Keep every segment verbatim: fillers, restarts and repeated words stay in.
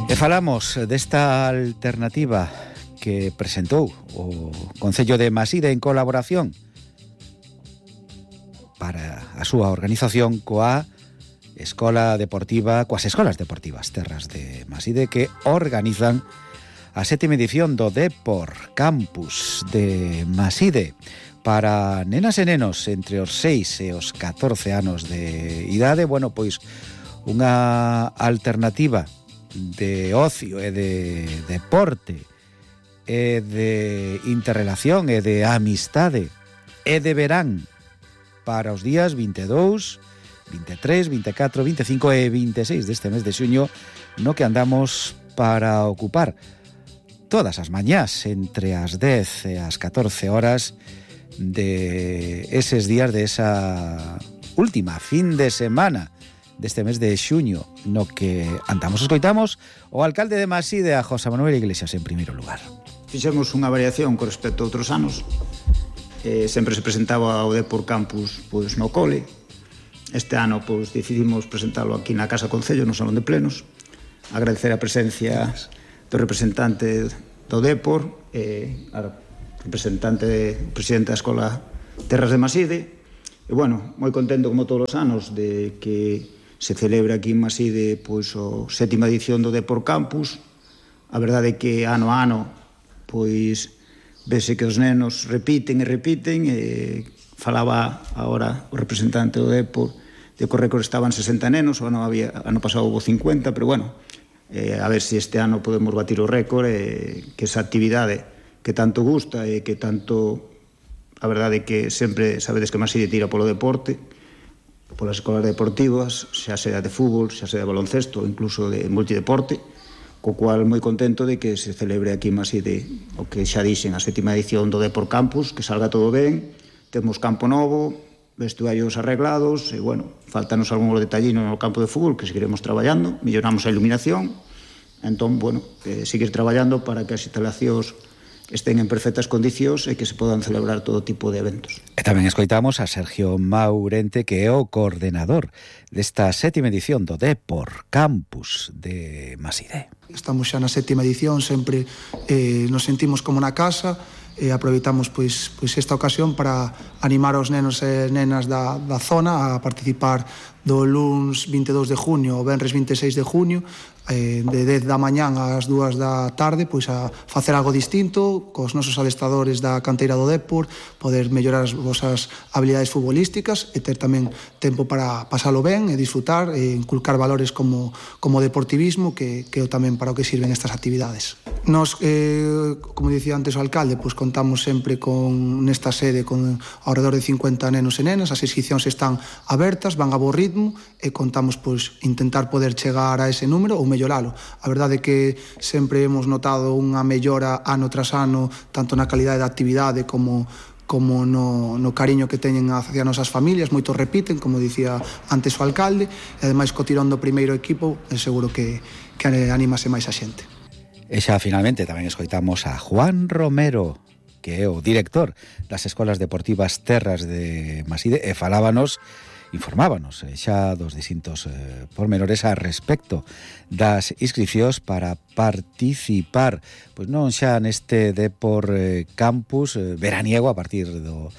E falamos desta alternativa que presentou o Concello de Maside en colaboración para a súa organización coa Escola Deportiva, coas Escolas Deportivas Terras de Maside, que organizan a sétima edición do Depor Campus de Maside para nenas e nenos entre os seis e os catorce anos de idade. Bueno, pois unha alternativa de ocio e de deporte e de interrelación e de amistade e de verán para os días vinte e dous, vinte e tres, vinte e catro, vinte e cinco e vinte e seis deste mes de xuño, no que andamos para ocupar todas as mañás entre as dez e as catorce horas de eses días de esa última fin de semana deste mes de xuño, no que andamos escoitamos o alcalde de Maside, a José Manuel Iglesias, en primeiro lugar. Fixemos unha variación con respecto a outros anos. Eh, sempre se presentaba o Depor Campus pois, no cole. Este ano pois, decidimos presentarlo aquí na Casa Concello, no Salón de Plenos. Agradecer a presencia do representante do Depor, eh, a representante, o presidente da Escola Terras de Maside. E, bueno, moi contento como todos os anos de que se celebra aquí en Maside pois, a sétima edición do Depor Campus. A verdade é que ano a ano pois vese que os nenos repiten e repiten, e falaba agora o representante do Depor de que o récord estaban sesenta nenos, o ano, había, ano pasado houve cincuenta, pero bueno, eh, a ver se este ano podemos batir o récord, e que esa actividade que tanto gusta e que tanto, a verdade é que sempre sabedes que Maside tira polo deporte, polas escolas deportivas, xa sea de fútbol, xa sea de baloncesto, incluso de multideporte, co cual moi contento de que se celebre aquí en Maside o que xa dixen, a sétima edición do Depor Campus, que salga todo ben. Temos campo novo, vestuarios arreglados, e, bueno, faltanos algún detallino no campo de fútbol que seguiremos traballando, melloramos a iluminación, entón, bueno, eh, seguir traballando para que as instalacións estén en perfectas condicións e que se podan celebrar todo tipo de eventos. E tamén escoitamos a Sergio Maurente, que é o coordenador desta sétima edición do Depor Campus de Maside. Estamos xa na sétima edición, sempre eh, nos sentimos como na casa, e aproveitamos pois, pois esta ocasión para animar aos nenos e nenas da, da zona a participar do luns vinte e dous de junio ao venres vinte e seis de junio, eh, de dez da mañán ás dúas da tarde, pois a facer algo distinto cos nosos adestradores da canteira do Depor, poder mellorar as vosas habilidades futbolísticas e ter tamén tempo para pasalo ben e disfrutar e inculcar valores como, como deportivismo, que, que é tamén para o que sirven estas actividades. Nos, eh, como dicía antes o alcalde, pois contamos sempre con nesta sede con ao redor de cincuenta nenos e nenas. As inscripcións están abertas, van a bo ritmo, e contamos pois intentar poder chegar a ese número ou melloralo. A verdade é que sempre hemos notado unha mellora ano tras ano, tanto na calidade da actividade como como no, no cariño que teñen hacia nosas familias. Moitos repiten, como dicía antes o alcalde, e ademais co tirón do primeiro equipo é seguro que, que animase máis a xente. E xa finalmente tamén escoitamos a Juan Romero, que é o director das Escolas Deportivas Terras de Maside, e falábanos, informábanos xa dos distintos eh, pormenores a respecto das inscripcións para participar, pois non xa neste Depor eh, Campus eh, veraniego a partir do,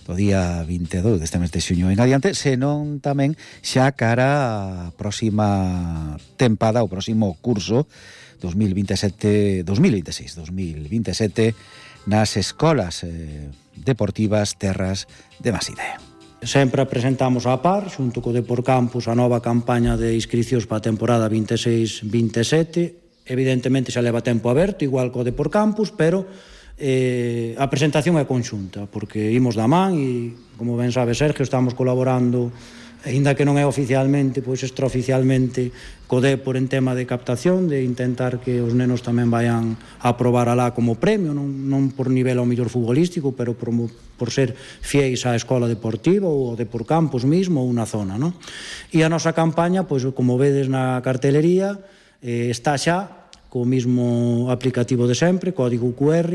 do día vinte e dous deste mes de xuño en adiante, senón tamén xa cara a próxima tempada, o próximo curso dos mil veintesete, dos mil veintiséis, dos mil veintesete nas Escolas eh, Deportivas Terras de Maside. Sempre presentamos a par, xunto co Depor Campus, a nova campaña de inscricións para a temporada vinte e seis vinte e sete. Evidentemente xa leva tempo aberto, igual co Depor Campus, pero eh, a presentación é conxunta, porque imos da man e, como ben sabe Sergio, estamos colaborando, aínda que non é oficialmente, pois extraoficialmente, co Depor en tema de captación, de intentar que os nenos tamén vayan a probar alá como premio, non, non por nivel ao mellor futbolístico, pero por, por ser fieis á escola deportiva ou ao Depor Campus mismo ou na zona, non? E a nosa campaña, pois como vedes na cartelería, eh, está xa co mismo aplicativo de sempre, código Q R.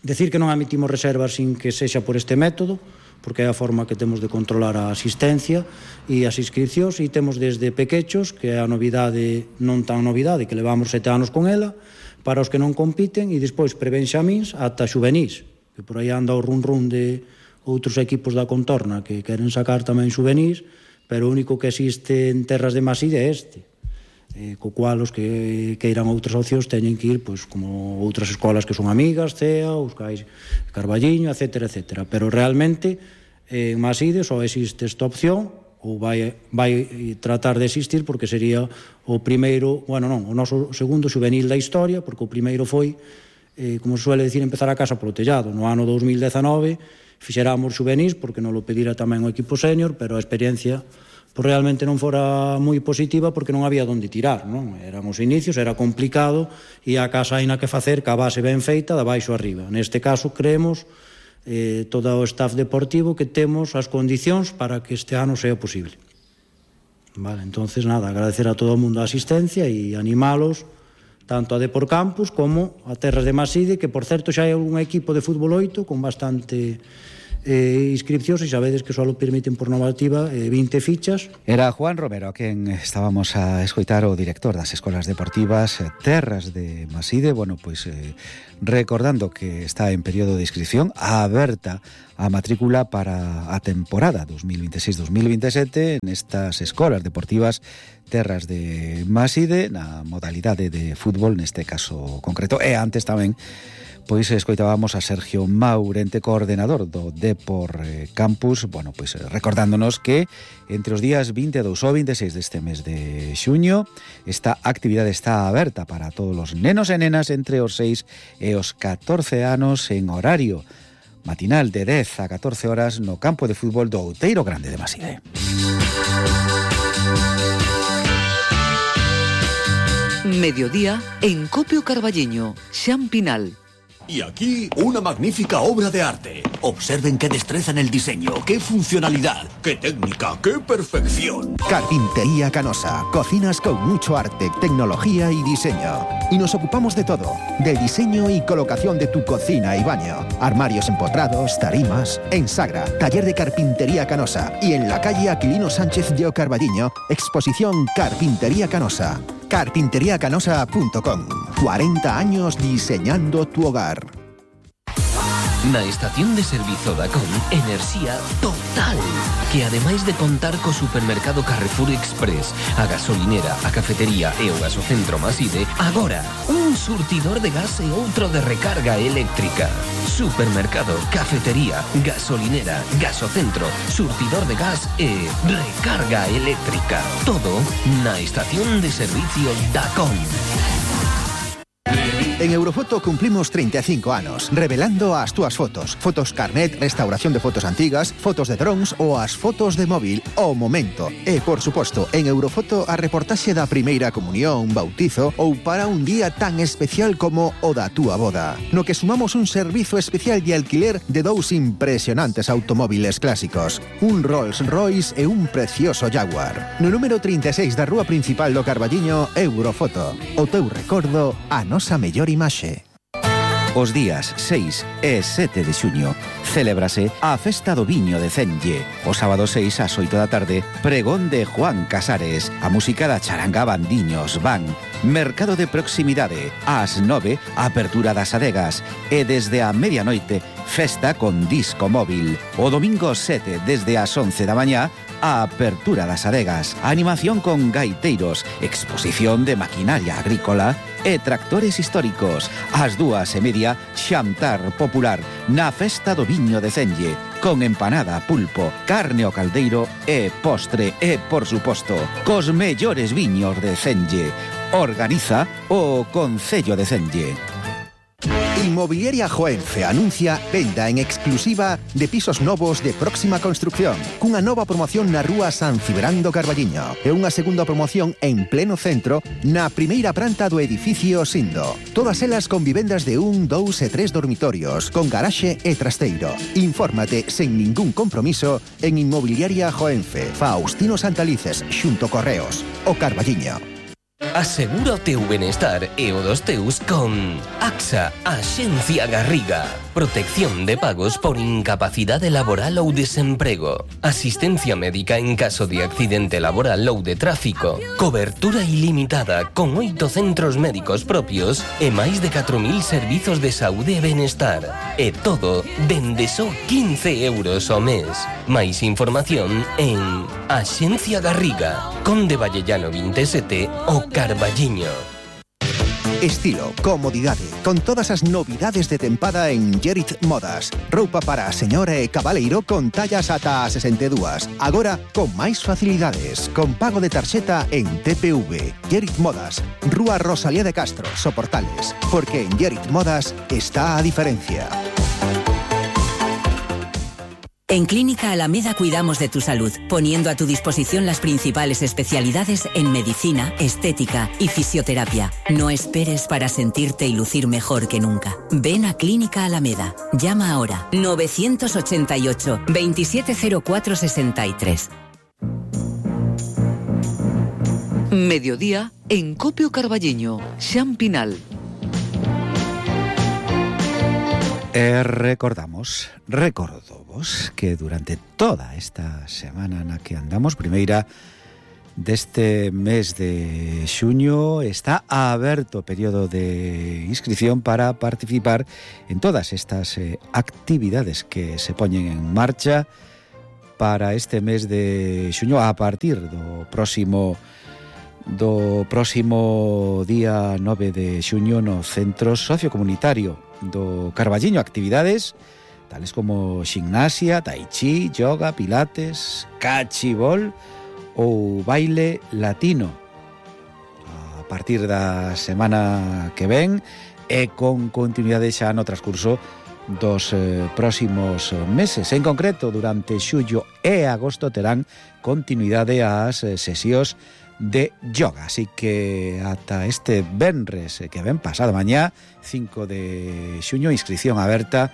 Decir que non emitimos reservas sin que sexa por este método, porque é a forma que temos de controlar a asistencia e as inscripcións, e temos desde pequechos, que é a novidade, non tan novidade, que levamos sete anos con ela, para os que non compiten, e despois prebenxamins ata xuvenís, que por aí anda o run run de outros equipos da contorna que queren sacar tamén xuvenís, pero o único que existe en terras de Maside é este, eh, co cual os que queiran outras opcións teñen que ir, pois, como outras escolas que son amigas, C E A, os Cais Carballiño, etcétera, etcétera. Pero realmente en Maside só existe esta opción, ou vai, vai tratar de existir, porque sería o primeiro, bueno, non, o noso segundo juvenil da historia, porque o primeiro foi, eh, como se suele decir, empezar a casa polo tellado. No ano dos mil dezanove fixeramos juvenis, porque non lo pedira tamén o equipo senior, pero a experiencia pois realmente non fora moi positiva, porque non había donde tirar, non? Eran os inicios, era complicado, e a casa hai na que facer ca base ben feita, da baixo arriba. Neste caso, creemos, eh, todo o staff deportivo, que temos as condicións para que este ano sea posible. Vale, entonces, nada, agradecer a todo o mundo a asistencia e animalos, tanto a Depor Campus como a Terras de Maside, que, por certo, xa hai un equipo de fútbol oito con bastante eh, inscripcións, e sabedes que só lo permiten por normativa eh, vinte fichas. Era Juan Romero a quen estábamos a escoitar, o director das escolas deportivas Terras de Maside, bueno, pois eh, recordando que está en período de inscripción, aberta a matrícula para a temporada dos mil veintiséis dos mil veintisiete nestas escolas deportivas Terras de Maside, na modalidade de fútbol neste caso concreto. E antes tamén pois escoitábamos a Sergio Maurente, coordenador do Depor Campus, bueno, pois recordándonos que entre os días vinte e dous ou veintiséis deste mes de xuño esta actividade está aberta para todos os nenos e nenas entre os seis e os catorce anos, en horario matinal de dez a catorce horas no campo de fútbol do Outeiro Grande de Maside. Mediodía en Copio Carballiño, Xan Pinal. Y aquí, una magnífica obra de arte. Observen qué destreza en el diseño, qué funcionalidad, qué técnica, qué perfección. Carpintería Canosa. Cocinas con mucho arte, tecnología y diseño. Y nos ocupamos de todo. Del diseño y colocación de tu cocina y baño. Armarios empotrados, tarimas. En Sagra, taller de Carpintería Canosa. Y en la calle Aquilino Sánchez de Carballiño, exposición Carpintería Canosa. carpintería canosa punto com. cuarenta años diseñando tu hogar. Na estación de servizo da Con, enerxía total, que ademais de contar co supermercado Carrefour Express, a gasolinera, a cafetería e o gasocentro Maside, agora un surtidor de gas e outro de recarga eléctrica. Supermercado, cafetería, gasolinera, gasocentro, surtidor de gas e recarga eléctrica. Todo na estación de servicio da Con. En Eurofoto cumplimos treinta e cinco anos, revelando as túas fotos. Fotos carnet, restauración de fotos antigas, fotos de drones ou as fotos de móvil ao momento. E, por suposto, en Eurofoto a reportaxe da primeira comunión, bautizo ou para un día tan especial como o da túa boda. No que sumamos un servizo especial de alquiler de dous impresionantes automóviles clásicos. Un Rolls Royce e un precioso Jaguar. No número trinta e seis da rúa principal do Carballiño, Eurofoto. O teu recordo, a nosa mellor imaxe. Os días seis e sete de xuño celébrase a Festa do Viño de Cenlle. O sábado seis ás oito da tarde, pregón de Juan Casares. A música da charanga Bandiños van. Mercado de proximidade. Ás nove, apertura das adegas. E desde a medianoite, festa con disco móvil. O domingo sete, desde as once da mañá, a apertura das adegas, animación con gaiteiros, exposición de maquinaria agrícola e tractores históricos. Ás dúas e media, xantar popular na Festa do Viño de Cenlle, con empanada, pulpo, carne ao caldeiro e postre e, por suposto, cos mellores viños de Cenlle. Organiza o Concello de Cenlle. Inmobiliaria Joenfe anuncia venda en exclusiva de pisos novos de próxima construcción, cunha nova promoción na rúa San Cibrán do Carballiño e unha segunda promoción en pleno centro na primeira planta do edificio Sindo. Todas elas con vivendas de un, dous e tres dormitorios, con garaxe e trasteiro. Infórmate sen ningún compromiso en Inmobiliaria Joenfe, Faustino Santalices, xunto Correos, o Carballiño. Asegura o teu benestar e o dos teus con AXA, Axencia Garriga. protección de pagos por incapacidade laboral ou desemprego, asistencia médica en caso de accidente laboral ou de tráfico, cobertura ilimitada con oito centros médicos propios e máis de catro mil servizos de saúde e benestar. E todo dende só quince euros ao mes. Máis información en Axencia Garriga, Conde Vallellano veintisiete, o Carballiño. Estilo, comodidade, con todas as novidades de tempada en Gerit Modas. Roupa para a señora e cabaleiro con tallas ata a sesenta e dúas. Agora, con máis facilidades, con pago de tarxeta en T P V. Gerit Modas, Rúa Rosalía de Castro, Soportales. Porque en Gerit Modas está a diferencia. En Clínica Alameda cuidamos de tu salud, poniendo a tu disposición las principales especialidades en medicina, estética y fisioterapia. No esperes para sentirte y lucir mejor que nunca. Ven a Clínica Alameda. Llama ahora novecientos ochenta y ocho, veintisiete cero cuatro sesenta y tres. Mediodía en Copio Carballiño, Xampinal. E recordamos, recordovos que durante toda esta semana na que andamos, primeira deste mes de xuño, está aberto o período de inscripción para participar en todas estas eh, actividades que se poñen en marcha para este mes de xuño a partir do próximo do próximo día nove de xuño no Centro Sociocomunitario do Carballiño. Actividades tales como gimnasia, tai chi, yoga, pilates, cachibol ou baile latino. A partir da semana que ven e con continuidade xa no transcurso dos eh, próximos meses. En concreto, durante xullo e agosto terán continuidade as eh, sesións de yoga, así que ata este venres que ven pasado mañá, cinco de xuño, inscripción aberta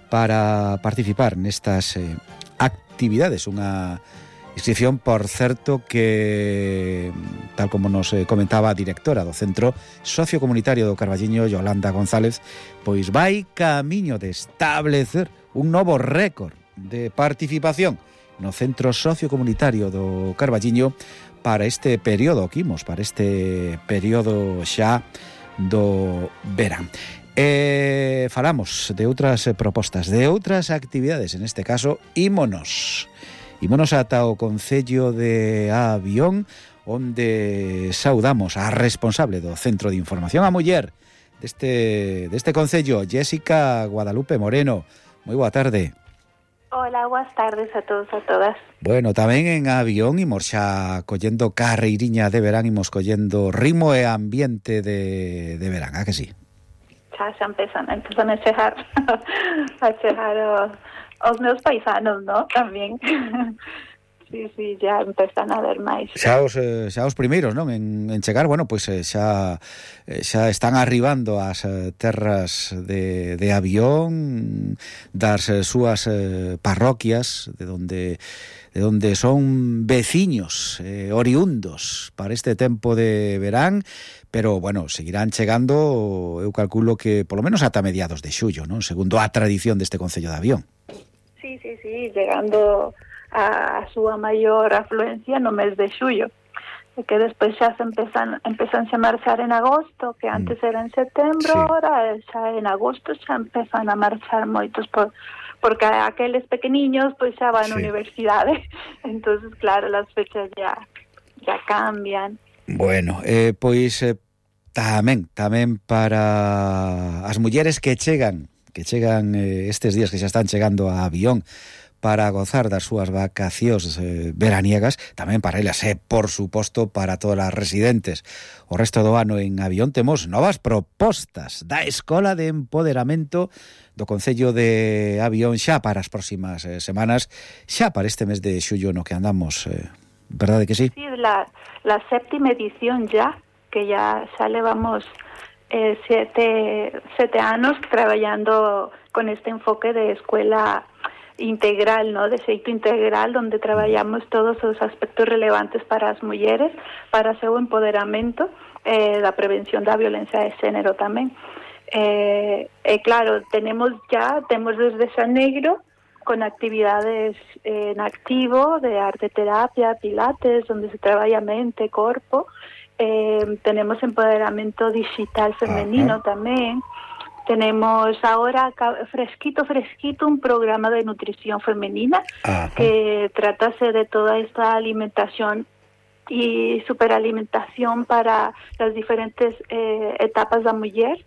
para participar nestas eh, actividades. Unha inscripción, por certo, que tal como nos eh, comentaba a directora do Centro Sociocomunitario do Carballiño, Yolanda González, pois vai camiño de establecer un novo récord de participación no Centro Sociocomunitario do Carballiño para este período que imos, para este período xa do verán. E falamos de outras propostas, de outras actividades, en este caso, ímonos. Ímonos ata o Concello de Avión, onde saudamos a responsable do Centro de Información a Muller deste, deste Concello, Jéssica Guadalupe Moreno. Moi boa tarde. Hola, boas tardes a todos, a todas. Bueno, tamén en Avión imos xa collendo carreiriña de verán, imos collendo ritmo e ambiente de, de verán, a que sí? Xa, xa empezan, empezan a chegar, a chegar os, os meus paisanos, ¿no? Tamén. Sí, sí, ya empezan a ver máis. Xa os, eh, xa os primeiros, non? En, en chegar, bueno, pois pues, eh, xa, eh, xa están arribando as eh, terras de, de Avión, das eh, súas eh, parroquias, de donde de donde son veciños eh, oriundos para este tempo de verán, pero, bueno, seguirán chegando, eu calculo que polo menos ata mediados de xullo, non? Segundo a tradición deste Concello de Avión. Sí, sí, sí, llegando a súa maior afluencia no mes de xullo, e que despois xa se empezan, empezan a marchar en agosto, que antes era en setembro, sí. Ahora xa en agosto xa empezan a marchar moitos, por, porque aqueles pequeniños pois xa van á sí. Universidade, entonces claro, las fechas ya, ya cambian. Bueno, eh, pois eh, tamén, tamén para as mulleres que chegan, que chegan eh, estes días que xa están chegando a Avión, para gozar das súas vacacións eh, veraniegas, tamén para elas e, por suposto, para todas as residentes. O resto do ano en Avión temos novas propostas da Escola de Empoderamento do Concello de Avión xa para as próximas eh, semanas, xa para este mes de xullo no que andamos, eh, verdade que sí? Sí, la, la séptima edición ya, que ya xa levamos eh, siete, siete anos traballando con este enfoque de escuela integral, ¿no? De xeito integral, onde traballamos todos os aspectos relevantes para as mulleres, para o seu empoderamento, eh, da prevención da violencia de xénero tamén. Eh, eh, claro, tenemos ya, tenemos desde Xaneiro con actividades eh, en activo de arte terapia, pilates, donde se trabaja mente, cuerpo. Eh, tenemos empoderamiento digital femenino. Ajá. También. Tenemos ahora fresquito, fresquito, un programa de nutrición femenina. Ajá. Que tratase de toda esta alimentación y superalimentación para las diferentes eh, etapas de la mujer.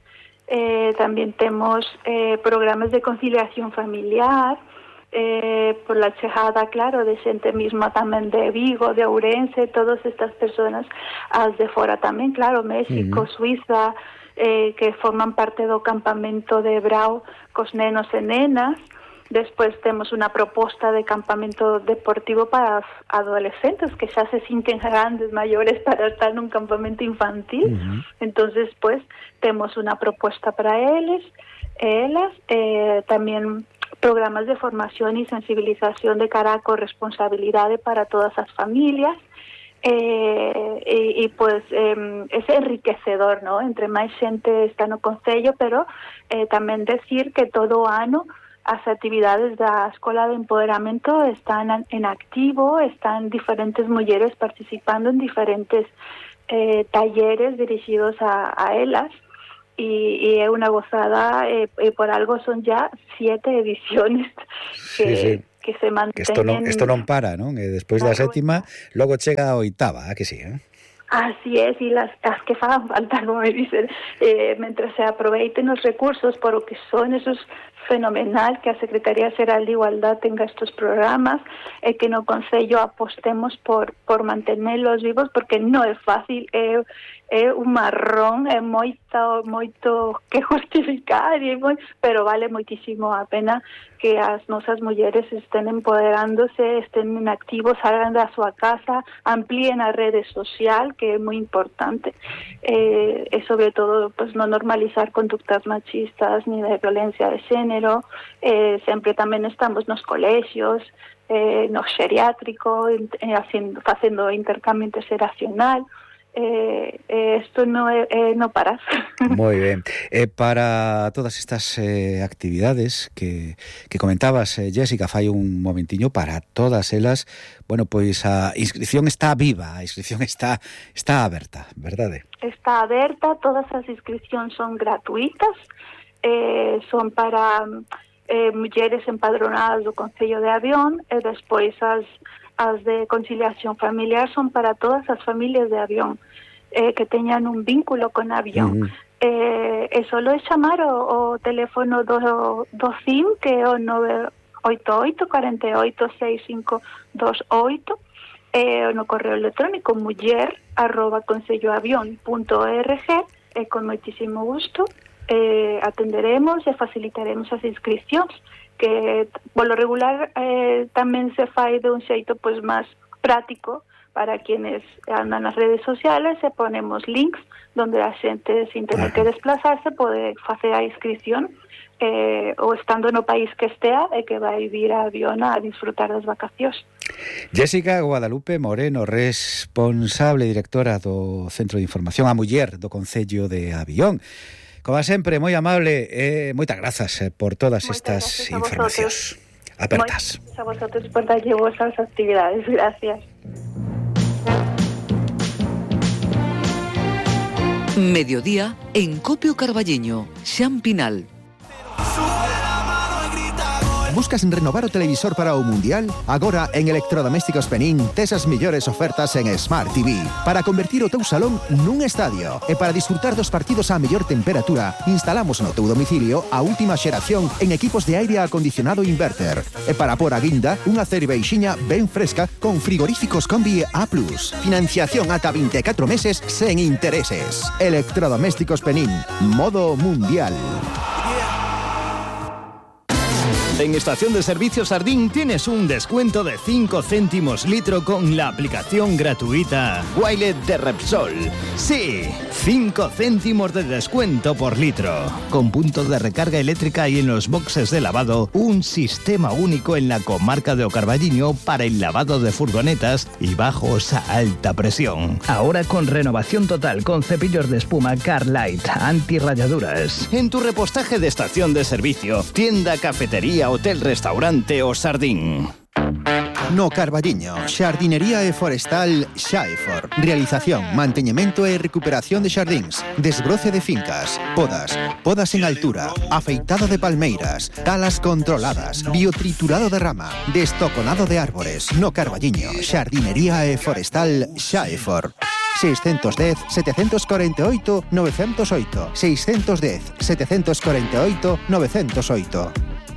Eh, también tenemos eh, programas de conciliación familiar, eh, por la chegada, claro, de gente misma también de Vigo, de Ourense, todas estas personas as de fora también, claro, México, uh-huh. Suiza, eh, que forman parte do campamento de Brau cos nenos e nenas. Despois temos unha proposta de campamento deportivo para os adolescentes que xa se sinten grandes, maiores para estar nun campamento infantil. Uh-huh. Entonces, pues, temos unha proposta para eles, elas, eh, tamén programas de formación e sensibilización de cara a corresponsabilidade para todas as familias. Eh, e, e pues eh, es enriquecedor, ¿no? Entre máis xente está no Concello, pero eh, tamén decir que todo o ano as actividades da Escola de Empoderamento están en activo, están diferentes mulleres participando en diferentes eh, talleres dirigidos a, a elas, y, y é unha gozada, eh, e por algo son ya siete ediciones que, sí, sí. que se manteñen. Que esto non, esto non para, non? E despois da sétima, logo chega a oitava, a que sí, eh? Así es, y las, las que fagan falta, como me dicen, eh, mientras se aproveiten os recursos por o que son, esos fenomenal que a Secretaría Xeral de Igualdad tenga estos programas, e eh, que no Concello apostemos por por mantenerlos vivos, porque non é fácil, é, é un marrón, é moito, moito que justificar, e moi, pero vale moitísimo a pena que as nosas mulleres estén empoderándose, estén en activo, salgan da súa casa, amplíen a rede social, que é moi importante, eh, e sobre todo pues, non normalizar conductas machistas ni de violencia de xénero. Eh, sempre tamén estamos nos colexios, eh, no xeriátrico, eh, haciendo, facendo intercambio interxeracional. Eh, eh, esto no, eh, no paras. Moi ben. Eh, para todas estas eh, actividades que, que comentabas, eh, Jessica, fai un momentiño, para todas elas, bueno, pois a inscripción está viva, a inscripción está está aberta, verdade? Está aberta, todas as inscripcións son gratuitas, eh, son para eh, mulleres empadronadas do Concello de Avión, e despois as as de conciliación familiar son para todas as familias de Avión, eh, que teñan un vínculo con Avión. Uh-huh. Eh, e solo é chamar o, o teléfono do, do C I M, que é o nove oito oito, cuatro oito, seis cinco dos oito, e eh, no correo electrónico muller arroba concelloavión punto org, e con moitísimo gusto eh, atenderemos e facilitaremos as inscripcións, que polo regular eh, tamén se fai de un xeito pois máis práctico para quienes andan nas redes sociales, e ponemos links donde a xente, sin tener que desplazarse, pode facer a inscripción eh, ou estando no país que estea, e que vai vir a Avión a disfrutar das vacacións. Jessica Guadalupe Moreno, responsable directora do Centro de Información a Muller do Concello de Avión. Como sempre, moi amable, e eh, moitas grazas eh, por todas moitas estas informacións apertas. Moitas a vosotros por darlle vosas actividades. Gracias. Mediodía en Copio Carballeño, Xan Pinal. Buscas renovar o televisor para o Mundial? Agora en Electrodomésticos Penín tes as mellores ofertas en Smart T V para convertir o teu salón nun estadio, e para disfrutar dos partidos á mellor temperatura instalamos no teu domicilio a última xeración en equipos de aire acondicionado inverter, e para por a guinda unha cerveixiña ben fresca con frigoríficos Combi A plus. Financiación ata vinte e catro meses sen intereses. Electrodomésticos Penín, modo Mundial. En Estación de Servicios Sardín tienes un descuento de cinco céntimos litro con la aplicación gratuita Wilet de Repsol. Sí, cinco céntimos de descuento por litro. Con puntos de recarga eléctrica y en los boxes de lavado, un sistema único en la comarca de O Carballiño para el lavado de furgonetas y bajos a alta presión. Ahora con renovación total con cepillos de espuma Carlight anti-rayaduras. En tu repostaje de estación de servicio, tienda, cafetería, hotel, restaurante o Sardín. No Carballiño, Xardinería e Forestal Xaefor. Realización, manteñemento e recuperación de xardíns, desbroce de fincas, podas, podas en altura, afeitado de palmeiras, talas controladas, biotriturado de rama, destoconado de árbores. No Carballiño, Xardinería e Forestal Xaefor. seiscentos dez, setecientos cuarenta y ocho, novecientos ocho. seiscentos dez, setecientos cuarenta y ocho, novecientos ocho.